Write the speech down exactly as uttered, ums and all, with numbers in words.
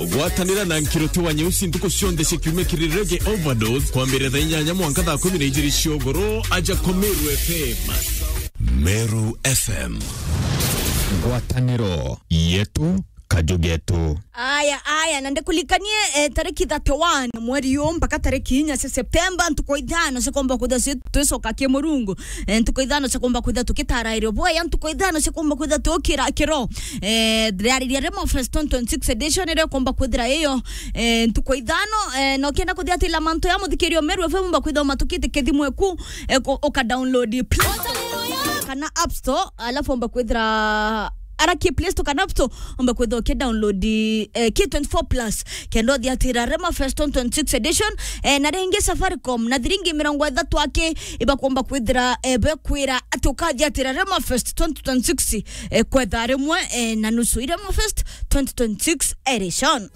Gwatanira na Nkiroti wa Nyeusi ntuku cionthe cia kiumia kiri Reggae Overdose, kwambiriria thaa inyanya mwanka thaa kumi na ijiri cia ugoro, aja kwa Meru F M. Meru F M. Ngwataniro yetu, kaju getu. Aya, aya, na ndikulikanie, eh, tariki thirty-one mweri uyu mpaka tariki inya cia Septemba, ntuku ithano cia kuumba kwithirwa ci-, twicoka ki Murungu. Eh, ntuku ithano cia kuumba kwithirwa tukitara irio bwega, ntuku ithano cia kuumba kwithirwa tukira kiro. Eh, riariria Remo Fest twenty twenty-six edition iria ikumba kwithira iyo, eh, ntuku ithano, eh, na ukienda kuthiatira mantu ya muthikirio Meru F M umba kwithirwa umatukite kithimwe ku, eh, ku-, uka download Play Store kana App Store, alafu umba kwithira ara ki Play Store kana App Store, umba kwithirwa uki download, eh, K twenty-four plus, kenda uthiatira Remo Fest twenty twenty-six edition, eh, na ringi Safaricom na thiringi mirongo ithatu aki ibakumba kwithira, eh, bekwira ati ukathiatira Remo Fest twenty twenty-six, eh, kwetha rimwe, eh, na nusu i Remo Fest twenty twenty-six edition.